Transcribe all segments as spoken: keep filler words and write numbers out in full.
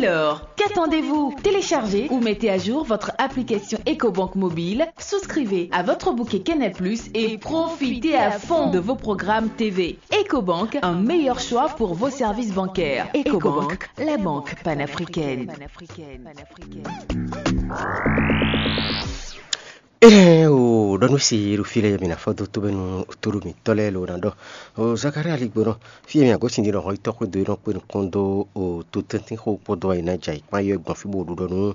Alors, qu'attendez-vous ? Téléchargez ou mettez à jour votre application Ecobank mobile, souscrivez à votre bouquet Canal Plus et profitez à fond de vos programmes T V. Ecobank, un meilleur choix pour vos services bancaires. Ecobank, la banque panafricaine. Ée o ɖɔ nú si ɖo fí lɛ́ɛ mǐ ná fɔ́ dó tóbɛ́nú tóɖó mǐtɔn lɛ́ɛ lǒ ná ɖɔ o Zakaria ligbónɔ fí e mǐ agosín ɖi ɖɔ hɔn yítɔ́ xwedó é nɔ kpé nukɔn dó o tótɛ́ntín xó kpódó ayǐ ná jɛ ayǐ kpán yɔ́ gbɔn fí bó ɖu ɖɔ nú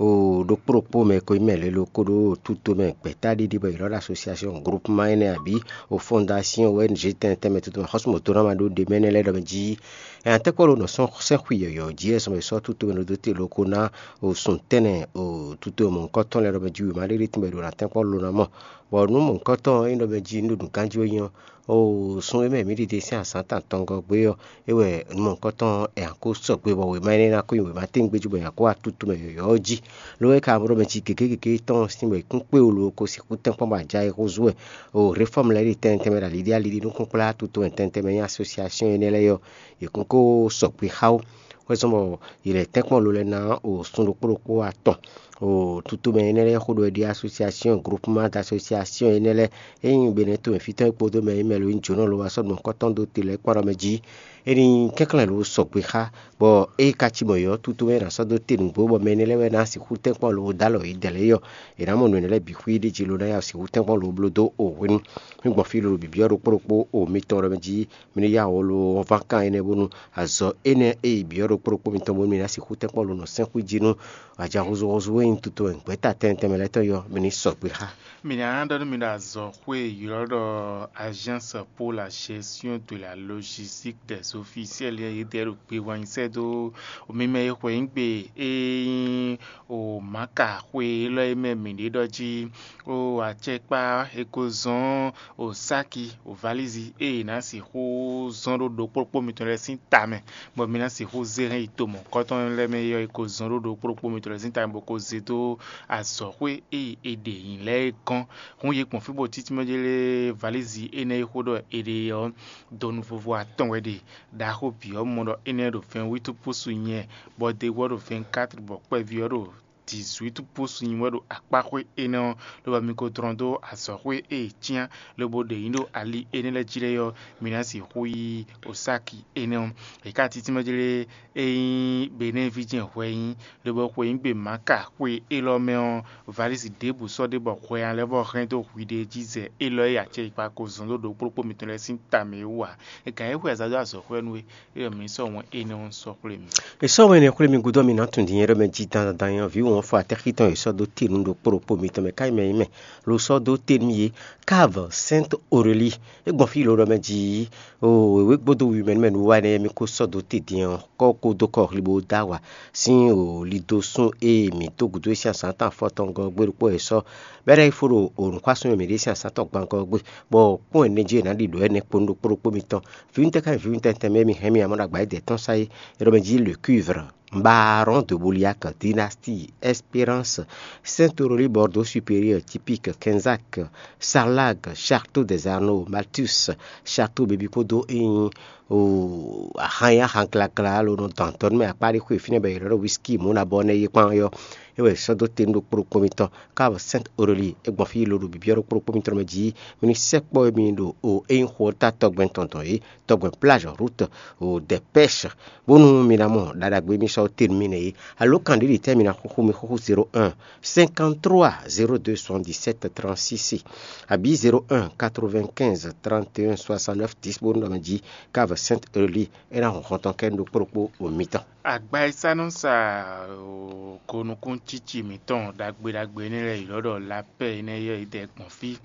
o ɖokpó ɖokpó mɛ ko nyí mɛ lělo kódó o túto mɛ gbɛ̌táɖiɖi bɔ è ylɔ́ ɖo asosiasɔn groupement énɛ́ abǐ o fondasiyɔn O N G tɛnmɛ tɛnmɛ toto mɛ xɔ́súmɔtɔ́ ná ma ɖó ɖe mɛ énɛ́ lɛ́ɛ ɖɔ mɛ jí. Ɛ atɛ́kpɔ́ ɖo nɔ sɔ́ sɛ́n xwi yɔ̌yɔ́ jí wɛ zɔn bɔ è sɔ́ túto mɛ ɖó dó te lóko ná o sun tɛ́nnɛ o túto mɔ̌hunkɔtɔn lɛ́ɛ ɖɔ mɛ jí wěma ɖé ɖé tɛnmɛ ɖo ná tɛ́nkpɔ́ ló ná mɔ. Bɔ nǔ mɔ̌hunkɔtɔn e ɖɔ mɛ jí un ɖo nǔganjí wɛ nyí ɔ́, o sun e mɛ mǐ ɖiɖe sín azǎn tantɔngɔ́ gbé ɔ́, é wɛ nǔ mɔ̌hunkɔtɔn ɛ a ko sɔgbe bɔ wěma énɛ́ ná ko nyi wěma tɛ́ngbé jí bɔ è nǎ ko wá tútu mɛ yɔ̌yɔ́ ɔ́ jí. Lo é ka mɔ ɖɔ mɛ jí gěgé gěgé tɔn sín bɔ è kún kpé wolo ko sixú tɛ́nkpɔ́n bɔ a ja é húzú wɛ. O réfɔ́mu lɛ́ɛ ɖi tɛnmɛ tɛnmɛ ɖo aliɖí aliɖí nú kún kplá tútu mɛ tɛnmɛ tɛnmɛ nyí asosiasɔ́n énɛ́ lɛ́ɛ ɔ́, è kún ko sɔgbe xá ó. Xwezɔ́n bɔ yě lɛ́ tɛ́nkpɔ́n lo lɛ́ɛ ná o sun ɖokpó ɖokpó atɔn. O tutomɛ énɛ́ lɛ́ɛ xó ɖɔ é ɖíe asosiasiyɔn, groupement d'association énɛ́ lɛ́ɛ, ényí Benɛ́ tomɛ fítɔ́ é kpódó mɛ e nyí mɛ lo nyí jǒnɔ lo wá sɔ́ ɖo nukɔn tɔn dó te lɛ́ɛ kpán ɖɔ mɛ jí. É ní kɛnklɛ́n lo sɔgbe xá, bɔ ée ka cí mɔ̌ é ɔ́, tutomɛ é ná sɔ́ dó te nǔgbó, bɔ mɛ énɛ́ lɛ́ɛ wɛ ná sixú tɛ́nkpɔ́n lo dó alɔ yě dɛ̌ lɛ́ɛ é ɔ́, è nǎ mɔ nǔ énɛ́ lɛ́ɛ bǐ xwí ɖ'é jí lo ná ya sixú tɛ́nkpɔ́n lo bló dó o hwenu. Mí gbɔn fí lolo bǐbyɔ́ ɖokpó ɖokpó o mitɔn ɖɔ mɛ jí mi ní yá wɔ lo ɔ́ ván kan énɛ́ bónú azɔ̌ énɛ́ e yi byɔ̌ ɖokpó ɖokpó mitɔn bónú mi ná sixú tɛ́nkpɔ́n lo nɔ sɛ́n xwí jí nú aja húzúhúzú e nyí tuto wɛ gbɛ̌ta tɛnmɛ tɛnmɛ lɛ́ɛ tɔn yɔ, mi ní sɔgbe xá. Mi ná ɖɔ nú mi ɖo azɔ̌xwé e ylɔ́ ɖɔ Agence pour la gestion de la logistique des officiels é yědɛɛ ɖo gbe wá nyi sɛ́ dó mi mɛ e xweyǐgbe e nyí o Maka xwe élɔ́ e mɛ mǐ ɖe ɖɔ jí o acɛkpá e ko zɔ́n o sáki o valízi e è nǎ sixú zɔ́n ɖó ɖokpó ɖokpó mitɔn lɛ́ɛ sín ta mɛ, bɔ mi ná sixú zé hɛn yi to mɔ̌hunkɔtɔn lɛ́ɛ mɛ é ɔ́, è ko zɔ́n ɖó ɖokpó ɖokpó mitɔn lɛ́ɛ sín ta mɛ bó ko zé dó azɔ̌xwé e è ɖe nyi lɛ́ɛ é gɔ́n. Hǔn yě gbɔn fí bó títí mɛ jlé valízi énɛ́ e xó ɖɔ è ɖe ɔ́, donu vovo atɔn wɛ ɖe. Ɖaxó bǐ ɔ́ mɔ ɖɔ énɛ́ ɖo vɛ̌ɛn wútu púsu nyɛ, bɔ degwɔ́ ɖo vɛ̌ɛn kátri, bɔ kpɛví ɔ́ ɖo dǐzwítu púsu nyi wɛ ɖo akpáxwé énɛ́ ɔ́, lobo mi ko dlɔ́n dó azɔ̌xwé e è cyán lobo ɖe nyǐ ɖo ali énɛ́ lɛ́ɛ jí lɛ́ɛ ɔ́, mi ná sixú yí osáki énɛ́ ɔ́. È ka títí mɛ jlé é nyí Benɛ́ɛ ví jɛ́n hwɛ nyí, lobo xweyǐgbe Maka xwe élɔ́ mɛ ɔ́, valísi ɖěbǔ sɔ́ ɖe bɔ hwɛ nya lɛ́ vɔ hɛn dó hwiɖée jí zɛ élɔ́ e acɛ yi kpa ko zɔn dó ɖokpó ɖokpó mitɔn lɛ́ɛ sín ta mɛ é wú ǎ. È gǎn é xwe azǎn dó azɔ̌xwé nú we, é ɖɔ mǐ sɔ́ wɛn énɛ́ ɔ́ sɔ́ xwlé mì. È sɔ́ wɛn énɛ́ xwlé mì gúdo ɔ́, mi nǎ tunwun din nyɛ ɖɔ mɛ jí dandan dandan ɔ́, vǐ wɔ̌nfɔ atɛ́xítɔn e sɔ́ dó te nú ɖokpó ɖokpó mitɔn mɛ ká nyí mɛ nyí mɛ, lo sɔ́ dó te nú mi é. Cave Sainte Aurélie, é gbɔn fí lo ɖɔ mɛ jí o wěwé gbódó wi mɛ nú mɛ nú wa énɛ́ mi ko sɔ́ dó te din ɔ́, kɔ́ ko dó kɔ hli bó dó awa sín o lido sún e mǐ dó gǔdo e sín azǎn tɔn afɔtɔngɔ́ gbé ɖokpó wɛ è sɔ́ bɔ é ná yi fó ɖo o nǔxwásún e mǐ ɖe sín azǎn tɔn gbangɔ ɔ́ gbé, bɔ kpɔ́n ɛnɛ jí è nǎ ɖi ɖǒ ɛnɛ kpó nú ɖokpó ɖokpó mitɔn. Vǐwúntɛn ká nyí vǐwúntɛn tɛnmɛ e mi hɛn mì amɔ̌ ɖo agbǎ yi dɛ̌ tɔn sá é, é ɖɔ mɛ jí le cuivre, Baron de Bouliac, Dynastie, Espérance, Sainte-Aurélie, Bordeaux Supérieur, Typique, Quinzac, Sarlag, Château des Arnaud, Malthus, Château Bébí kpódó é nyí o ahan nyi ahan glagla alo nɔ dɔn adɔnu mɛ akpa ɖé xwe fínɛ́ bɔ è ylɔ́ ɖɔ whisky mɔ̌ ná bɔ nɛ́ yí kpán ɔ́, é wɛ è sɔ́ dó te nú ɖokpó ɖokpó mitɔn. Cave Sainte Aurélie, é gbɔn fí lo ɖo bǐbyɔ́ ɖokpó ɖokpó mitɔn mɛ jí. Mi ní sɛkpɔ́ mi ɖo o é nyí xo ɔ́ ta tɔgbɛn tɔn dɔn é, tɔgbɛn plage, route o des pêches, bónú mi ná mɔ ɖaɖagbe mi sɔ́ te nú mi nɛ́ é. Alo kan ɖě ɖi tɛ́ mi ná xúxú mi xúxú zéro un, cinquante-trois, zéro deux, soixante-dix-sept, trente-six, abǐ zéro un, quatre-vingt-quinze, trente et un, soixante-neuf, dix bónú ɖɔ mɛ jí. Cave Sainte Aurélie, é ná hun xɔntɔn kɛ ɖokpó ɖokpó o mitɔn. Agba e sá nɔ sa o gonukúntící mǐtɔn ɖagbe ɖagbe énɛ́ lɛ́ɛ ylɔ́ ɖɔ lapɛ́ énɛ́ yɔ́ yi dɛ gbɔn fí,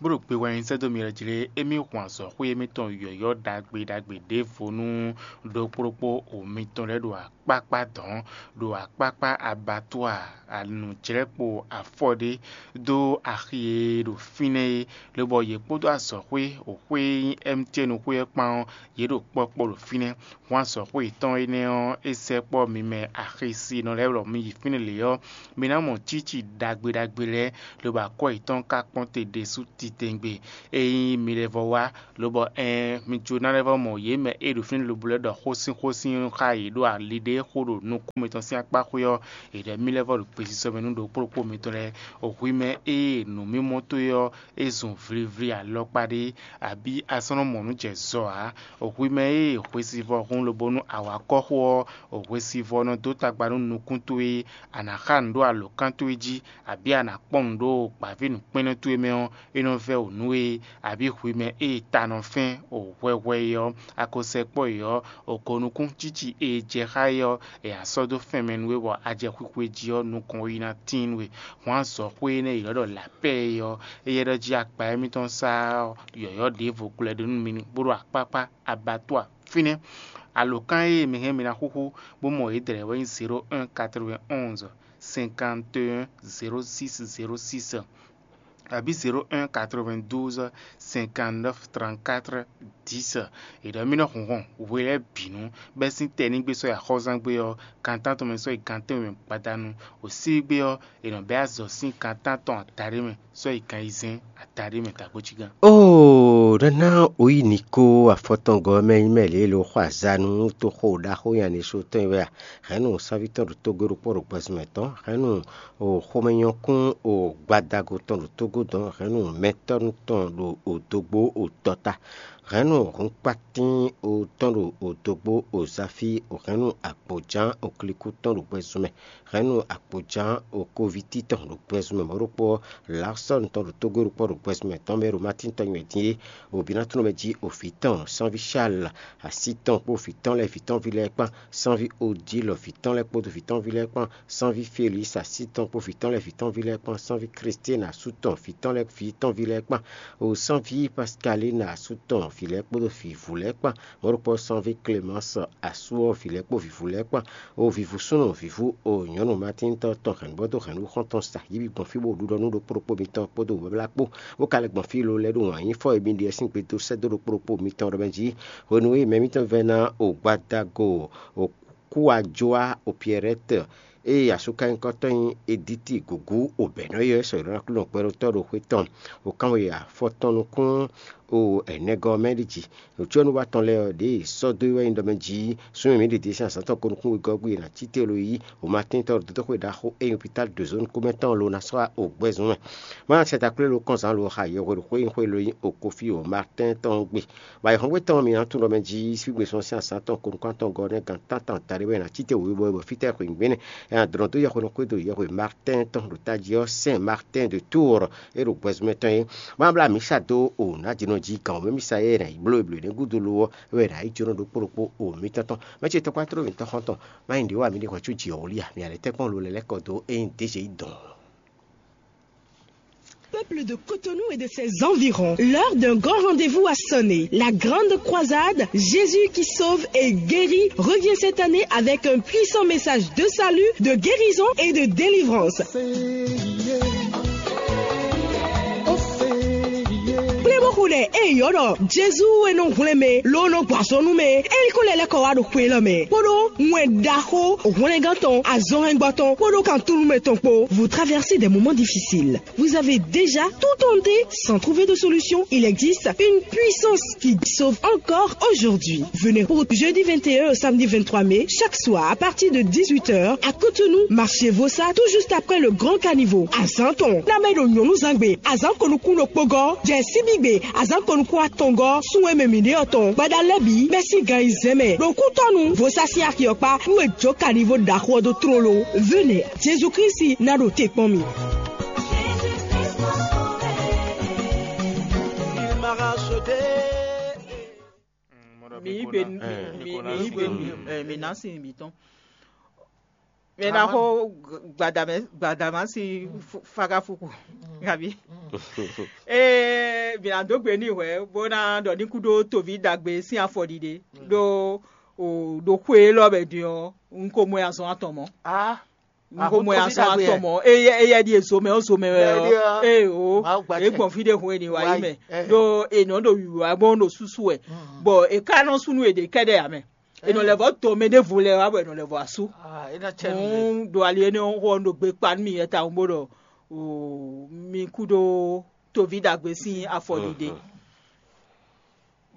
bó ɖo gbe wɛ nyi sɛ́ dó mi lɛ́ɛ jlé émí hun azɔ̌xwé émítɔn yɔ̌yɔ́ ɖagbe ɖagbe ɖěvo nú ɖokpó ɖokpó o mitɔn lɛ́ɛ ɖo akpákpá dɔ̌n, ɖo akpákpá abattoir, anǔjlɛ́kpo afɔ ɖé dó axi e ɖo fínɛ́ é, lobɔ yě kpódó azɔ̌xwé, o xwé e nyí M T N xwé ɔ́ kpán ɔ́, yě ɖo kpɔ́kpɔ́ ɖo fínɛ́. Hwan azɔ̌xwé yětɔn énɛ́ ɔ́, é sɛkpɔ́ mi mɛ axisinɔ lɛ́ɛ lɔ mi yi fínɛ́ lě ɔ́, mi ná mɔ cíci ɖagbe ɖagbe lɛ́ɛ, lobo akwɛ́ yětɔn ka kpɔ́n te ɖésú tɛngbé. Ényí mi lɛ́ vɔ wá, lobɔ ɛɛn, mi jó ná lɛ́ vɔ mɔ yě mɛ e ɖo fínɛ́ lobo lɛ́ɛ ɖɔ xósínxósín xá yě ɖo ali ɖé xo ɖo nukún mitɔn sín akpá xwé ɔ́, è ɖɔ mì lɛ́ vɔ ɖo gbesisɔ mɛ nú ɖokpó ɖokpó mitɔn lɛ́ɛ. Hwi mɛ e nǔmimɔ towe ɔ́, é zun vlivli alɔkpa ɖé, abǐ a sɔ́ nɔ mɔ nǔ jɛ zɔ ǎ. Hwi mɛ e hwesivɔ́ hun lobo nú awǎkɔ́xo ɔ́, hwesivɔ́ nɔ dó tagba nú nukún towe, a nǎ xa nǔ ɖó alǒkan towe jí, abǐ a nǎ kpɔ́n nǔ ɖo gbǎví nǔkpɛ́nnɔ towe mɛ ɔ́, é nɔ vɛ́ wǔ nú we, abǐ hwi mɛ e ta nɔ fɛ́n o hwɛhwɛ é ɔ́, a ko sɛkpɔ́ yě ɔ́, o ko nukún cíci e jɛ xá é ɔ́, è a sɔ́ dó fɛn mɛ nú we bɔ a jɛ xwixwe jí ɔ́, nukɔn yi ná tíin nú we. Hwan azɔ̌xwé énɛ́ e è nɔ ɖɔ lapɛ́ é ɔ́, éyɛ́ ɖɔ jí akpa émítɔn sá ɔ́, yɔ̌yɔ́ ɖěvo gblɛ́ ɖó nú mi bó ɖo akpákpá abattoir fínɛ́. Alǒkan e mi hɛn mi ná xúxú bó mɔ yě dlɛ̌ wɛ nyí zéro un quatre-vingt-onze cinquante et un zéro six zéro six, abǐ zéro un quatre-vingt-douze cinquante-neuf trente-quatre dix. È ɖɔ mì nɔ hunhɔn hwe lɛ́ɛ bǐ nu, bɛ́ sín tɛnígbe sɔ́ yi axɔ́zángbé ɔ́, gan tántɔn mɛ sɔ́ yi gan tɛ́nwe mɛ gbadanu. Wǒsígbé ɔ́, è nɔ bɛ́ azɔ̌ sín gan tántɔn adaɖé mɛ sɔ́ yi gan ayizɛ́n adaɖé mɛ dǎgbójígán. Oo, nana oyi niko afɔtɔngɔ mɛ nyí mɛ lě lo xɔ azanu toxo ɖaxó nyanisó tɔn wɛ a? Hɛ̌nnu sanvítɔ́ ɖo tógó ɖokpó ɖo gbɛzunmɛ tɔn, hɛ̌nnu o xomɛnyɔ́kún o gbadago tɔn ɖo tógó dɔn, hɛ̌nnu mɛtɔ́nu tɔn ɖo odogbo o tɔta, hɛ̌nnu hunkpatín o tɔn ɖo odogbo o zafí, o hɛ̌nnu agboján o klíkú tɔn ɖo gbɛzunmɛ, hɛ̌nnu agboján o kóvítí tɔn ɖo gbɛzunmɛ mɔ̌ ɖokpó ɔ́, Larsɔ́n tɔn ɖo tógó ɖokpó ɖo gbɛzunmɛ tɔn mɛ ɖo Matín tɔn nywɛ dín é, o Binatúnɔ mɛ jí o vǐ tɔn, sanví Shal, así tɔn kpó vǐ tɔn lɛ́ɛ vǐ tɔn ví lɛ́ɛ kpán, sanví Odílɔ vǐ tɔn lɛ́ɛ kpódó vǐ tɔn ví lɛ́ɛ kpán, sanví Felísi así tɔn kpó vǐ tɔn lɛ́ɛ vǐ tɔn ví lɛ́ɛ kpán, sanví Klistɛ́n asú tɔn vǐ tɔn lɛ́ɛ vǐ tɔn ví lɛ́ɛ kpán, o sanví Paskalín asú tɔn vǐ lɛ́ɛ kpódó vǐvú lɛ́ɛ kpán, mɔ̌ ɖokpó sanví Klemáns asú ɔ́ vǐ lɛ́ɛ kpó vǐvú lɛ́ɛ kpán, o vǐvú súnnu vǐvú o nyɔ̌nu Matín tɔn tɔn hɛ̌nnu bɔ dó hɛ̌nnu xɔ́ntɔn sa yí bǐ gbɔn fí bó ɖu ɖɔ nú ɖokpó ɖokpó mitɔn kpódó wǔ báblá kpó, bó ka lɛ́ gbɔn fí lo lɛ́ɛ ɖo wǎn yí fɔ e mi ɖe sín gbe dó sɛ́ dó ɖokpó ɖokpó mitɔn ɖɔ mɛ jí. Hwenu e mɛ mitɔn vɛ́ ná o gbadago o kú ajoá o Piɛrɛ́tɛ, ée asúkanyíkɔtɔn nyí Edíti gǔgú o bɛ̌nɔ́ yɔ́ sɔ yǒɖó ná Aklúnɔ gbɛɖótɔ́ ɖo xwé tɔn, o kánwe afɔ tɔn nukún o ɛnɛgɔ́ mɛ ɖi jí. Nǔcyɔ́núwa tɔn lɛ́ɛ ɔ́, ɖěe sɔ́ dó é wɛ nyí ɖɔ mɛ jí súnnu mǐ ɖě sín azǎn tɔn ko nukún wegɔ́ gbe è nǎ cí te lo yí o ma tín tɔn ɖo dódóxwé ɖaxó e nyí opitál dǒzónú kúmɛ tɔn lo ná sɔ́ o gbɛ́zún mɛ. Má sɛ taklé lo kɔn zǎn lo xa yɛhweɖo xwé nyí xwé lo nyí o kofi o Martɛ́n tɔn gbe. Bɔ ayǐhɔ́ngbe tɔn mǐ ná tunwun ɖɔ mɛ jí sígbè sɔ́ sín azǎn tɔn ko nukún atɔn gɔ́ nɛ́ gan tántɔn taɖé wɛ è nǎ cí te wěwé bɔ fítɛ́ xweyǐgbe nɛ́ è nǎ dlɔ́n dó yɛhweɖo xwé do yɛhwe Martɛ́n tɔn ɖo tají ɔ́ sɛn Martɛ́n de Túur é ɖo gbɛzún mɛ tɔn é. Má blá mǐ sa dó o nǎjínɔ jí gǎn wǒ mɛ mì sa é è nǎ yi bló e blǒ énɛ́ gúdo lo ɔ́, é wɛ è nǎ yi jónɔ ɖokpó ɖokpó o mǐtɔn tɔn. Mɛ ce tɔ́kpá tló mǐtɔn xɔ́ntɔn, má nyí ɖě wa mǐ ɖe hwɛ̌ có jǐ ɔ́ wlí a? Mǐ a lɛ́ tɛ́nkpɔ́n lo lɛ́ lɛ́ kɔ dó ényí Dezeyíi dɔn. Peuple de Cotonou et de ses environs, l'heure d'un grand rendez-vous a sonné. La grande croisade, Jésus qui sauve et guérit, revient cette année avec un puissant message de salut, de guérison et de délivrance. Kplé bó xo ɖɛ eye yɔ́ ɖɔ Jezu e nɔ hwlɛ́n mɛ ló nɔ gbɔ azɔn nú mɛ é ní ko lɛ́ lɛ́ kɔ wá ɖo xwe élɔ́ mɛ, kpódó wɛn ɖaxó hwlɛngán tɔn, azɔnhɛngbɔ tɔn, kpódó kan túnú mɛ tɔn kpó. Vous traversez des moments difficiles. Vous avez déjà tout tenté sans trouver de solution. Il existe une puissance qui sauve encore aujourd'hui. Venez pour jeudi vingt et un au samedi vingt-trois mai, chaque soir à partir de dix-huit heures, à Cotonou, marché Vossa, tout juste après le grand caniveau. Azan tɔn, na mɛ ɖo nyɔnu zangbe, azan konukun ɖokpogɔ, jɛ sibigbe, azan konukun atɔngɔ, sunwe mɛ mi ɖe ɔtɔn, gbada lɛbi, mɛsi gan yi zɛmɛ, ɖo kutɔnu, Vossa si axiɔkpa, nú e jo caniveau ɖaxó ɔ́ ɖó tlóló. Venez, Jésus Christ na ɖo te kpɔn mi. Il m'arrache des... Mi yí gbe, mi yí gbe, mi ná sin mi tɔn. Mi ná xo gbadamɛ gbadama sin fagafuku, gabi. Ee, mi ná dó gbe ní hwɛ bó ná ɖɔ ní kú ɖó toví ɖagbe sín afɔ ɖiɖe ɖó o ɖo xwe élɔ́ bɛ din ɔ́, un ko mɔ azɔn atɔn mɔ. N ko mɔ azɔn atɔn mɔ. Eyɛ eyɛ ɖi ezo mɛ o zo mɛ wɛ ɔ. Ee o, e gbɔn fi ɖe hun e ni wa yi mɛ ɖo e nɔ ɖo wiwa bɔ ɖo susu wɛ, bɔn e ka nɔ sunu e ɖe kɛ ɖe amɛ. E nɔ lɛ vɔ to mɛ ɖevo lɛ wa bɔ e nɔ lɛ vɔ asu. Ɖo ali ene xɔ ɖo gbe kpa nú mi yɛ ta bo ɖɔ mi kú ɖo toví ɖagbe sín afɔɖiɖe.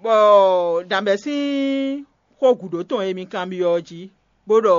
Bɔ dǎnbɛ sín xó gǔdo tɔn e mi kanbyɔ́ ɔ́ jí, bó ɖɔ